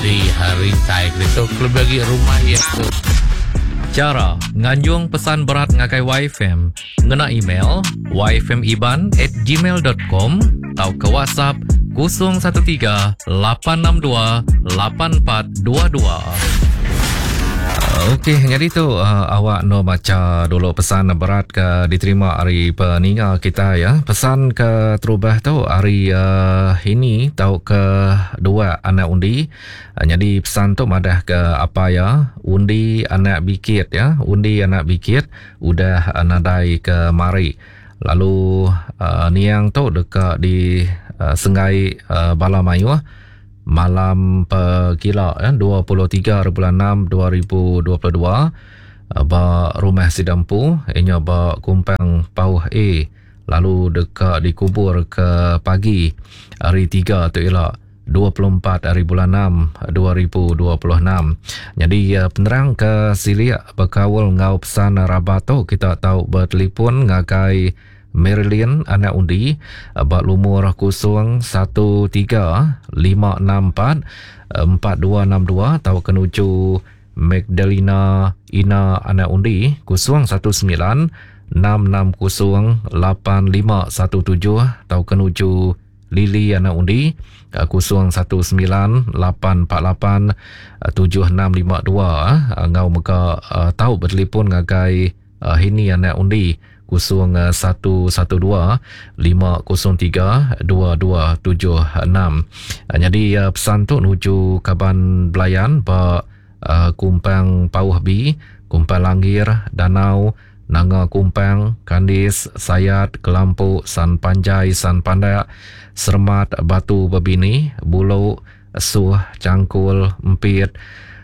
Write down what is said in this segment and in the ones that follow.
Di rintai ke ditu kelebih agi rumah iya ke. Chara nganjung pesan berat ngagai YFM ngena email yfmiban at gmail dot com tauka WhatsApp 013 862 8422. Okey, nyadi tu uh, awak no baca dulu pesan berat ke diterima ari peninga kita ya. Pesan ke terubah tu ari uh, ini tau ke dua anak undi. Uh, nyadi pesan tu madah ke apa ya undi anak bikit ya, undi anak bikit udah uh, nadai ke mari. Lalu uh, niang tu deka di uh, senggai uh, bala mayuh malam pegila ya, 23 bulan 6 2022 ba rumah sida empu inya ba Kumpang Pauh A lalu deka dikubur ke pagi hari 3 tu ila 24 hari bulan 6 2026. Nyadi penerang ke silik bekaul enggau pesan rabat tu kita tau betelefon ngagai Marilyn anak undi ba lumur 013 564 4262 tauka nuju Magdalena Ina anak undi 019 660 8517 tauka nuju Lily anak undi 019 848 7652 enggau mega tau betelefon ngagai Hini anak undi 0112 503 2276. Nyadi pesan tu nuju kaban belayan ba Kumpang Pauh B, Kumpang Langgir, Danau, Nanga Kumpang, Kandis, Sayat, Kelampu, San Panjai, San Pandak, Seremat, Batu Bebini, Bulu, Suh, Changkul, Empit,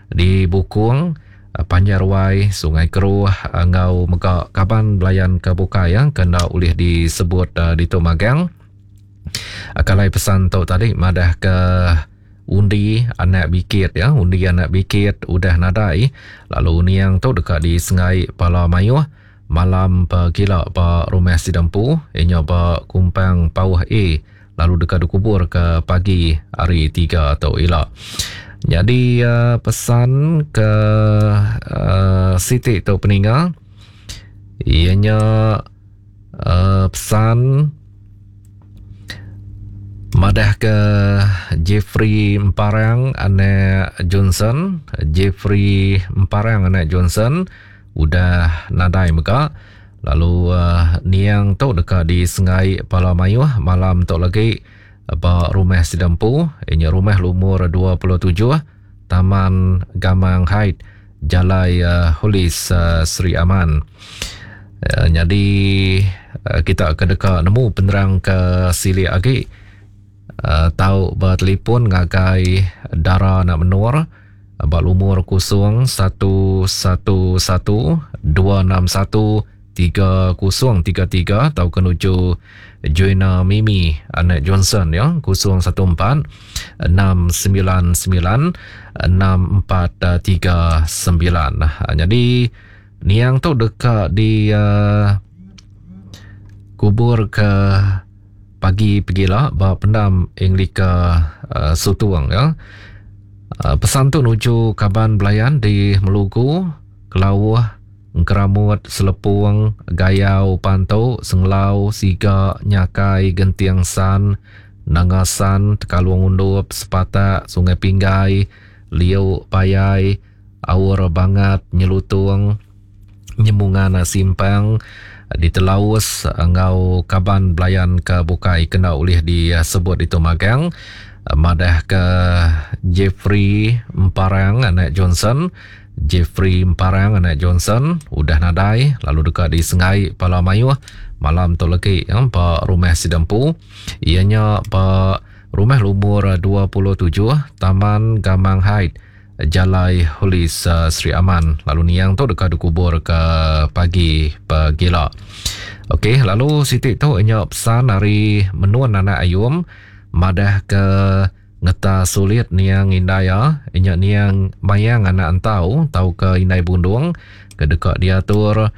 di Bukung, Panjai Ruai, Sungai Keruh enggau mega kaban belayan ke bukai ke enda ulih disebut ditu magang. Kalai pesan tu tadi madah ke undi anak bikit ya, undi anak bikit udah nadai lalu niang tu deka disengai pala mayuh malam pegila ba rumah sida empu inya ba Kumpang Pauh A lalu deka dikubur ke pagi hari 3 tu ila. Nyadi pesan ke siti tu peninga iya nya pesan Madah ke Jeffrey Emparang anak Johnson, Jeffrey Emparang anak Johnson udah nadai mega lalu uh, niang tu deka disengai pala mayuh malam tu lagi ba rumah sida empu inya rumah lumur 27 Taman Gamang Height Jalai uh, Holis uh, Sri Aman. Uh, nyadi uh, kita ke deka nemu penerang ke silik agi uh, tau bertelefon ngagai Dara Anak Menur ba lumur 0111 261 3033 tauka nuju Joanna Mimi anak Johnson ya 014 699 6439. Jadi niang tu deka di uh, kubur ke pagi pegila ba pendam Anglika uh, Sutung ya. Uh, pesan tu nuju kaban belayan di Melugu, Kelauh, Engkeramut, Selepung, Gayau, Pantu, Senglau, Siga, Nyakai, Genting San, Nanga San, Tekalung Undup, Sepatak, Sungai Pinggai, Liu, Payai, Aur Bangat, Nyelutung, Nyemungan Simpang, Ditelaus enggau kaban belayan ke bukai kena ulih disebut ditu magang. Madah ke Jeffrey Emparang anak Johnson Jeffrey Emparang anak Johnson udah nadai lalu deka disengai pala mayuh malam tu legi ba rumah sida empu iya nya ba rumah lumur 27 Taman Gamang Height Jalai Holis Sri Aman lalu niang tu deka dikubur ke pagi pegila. Okey lalu siti tu nya pesan ari Menun anak Ayum madah ke Ngeta sulit niang indai iya, nya niang Mayang anak Entau tauka Indai Bundung ke deka diatur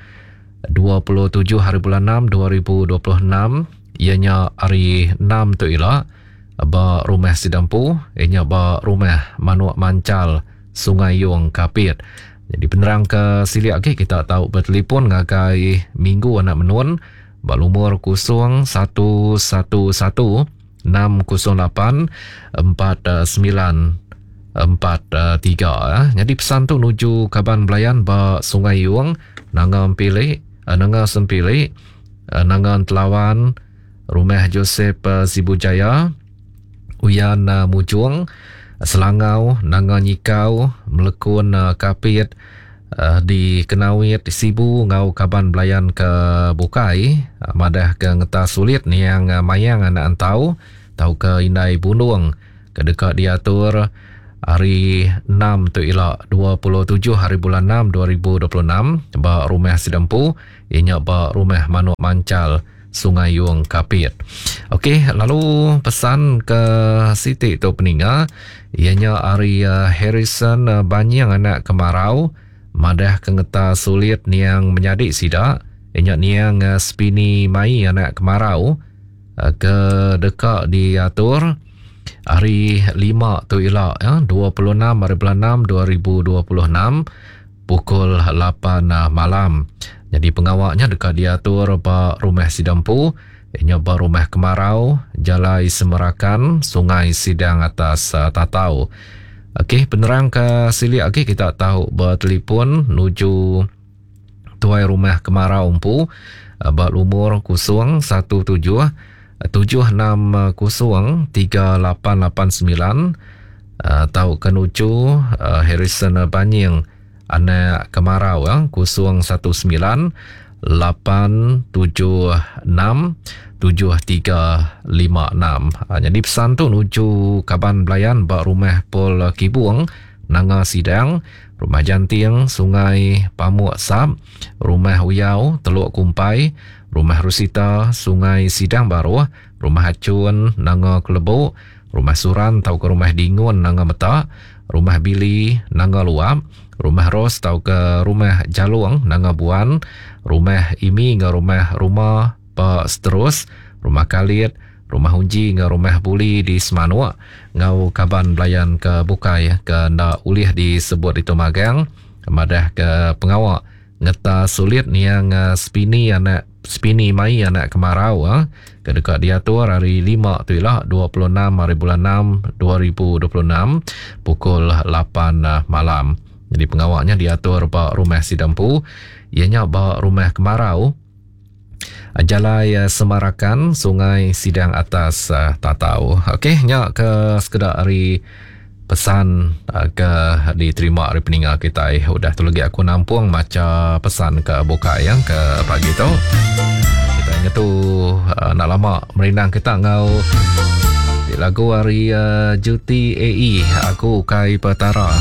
27 hari bulan 6 2026 iya nya hari 6 tu ila. ba rumah sida empu iya nya ba Rumah Manuk Manchal, Sungai Yong, Kapit. Nyadi penerang ke silik agi kita tau betelefon ngagai Minggu Anak Menun ba lumur 0111 608 4943. Nyadi pesan tu nuju kaban belayan ba Sungai Yong, Nanga Empili, Nanga Sempili, Nanga Entelawan, Rumah Joseph Sibu Jaya, Uyan Mujong, Selangau, Nanga Nyikau, Melekun Kapit, di Kenawit, Sibu enggau kaban belayan ke bukai madah ke ngetas sulit niang Mayang anak Entau tauka Indai Bundung ke deka diatur hari enam tu ila 27 hari bulan enam 2026 ba Rumah Sida Empu iya nya ba Rumah Manuk Manchal Sungai Yong Kapit. Okey, lalu pesan ke siti tu peninga iya nya ari eh, Harrison eh, Banying anak Kemarau madah ke ngeta sulit niang menyadi sida iya nya niang eh, Spini Mai anak Kemarau ke deka diatur hari 5 tu ila ya 26 hari bulan 6 2026 pukul 8 malam. Nyadi pengawa nya deka diatur ba Rumah Sida Empu, iya nya ba Rumah Kemarau, Jalai Semerakan, Sungai Sidang Atas Tatau. Okey, penerang ke silik agi kita tau betelefon nuju Tuai Rumah Kemarau empu ba lumur 017 760 3889 tauka nuju Harrison Banying anak Kemarau 019 876 7356. Nyadi pesan tu nuju kaban belayan ba Rumah Paul Kibung, Nanga Sidang, Rumah Janting, Sungai Pamuk Sap, Rumah Uyau, Teluk Kumpai, Rumah Rusita, Sungai Sidang Baruh, Rumah Achun, Nanga Kelebu, Rumah Suran tauka Rumah Dingun, Nanga Meta, Rumah Billy, Nanga Luap, Rumah Ros tauka Rumah Jalung, Nanga Buan, Rumah Imi enggau Rumah Ruma ba Seterus, Rumah Kalit, Rumah Unji enggau Rumah Buli di Semanuk enggau kaban belayan ke bukai ke enda ulih disebut ditu magang madahka pengawa Ngeta sulit niang Spini anak Spini mai anak Kemarau ke deka diatur hari lima tu ila 26 hari bulan 6 2026 pukul 8 malam. Jadi pengawa nya diatur ba rumah sida empu iya nya ba Rumah Kemarau Jalai Semarakan Sungai Sidang Atas Tatau. Okey nya ke sekeda ari Pesan ke diterima ari peninga kitai udah tu lagi aku nampung macha pesan ke bukai ya ke pagi tu. Kita ngetu enda lama merindang kita enggau lagu ari Juti AE aku ukai petara.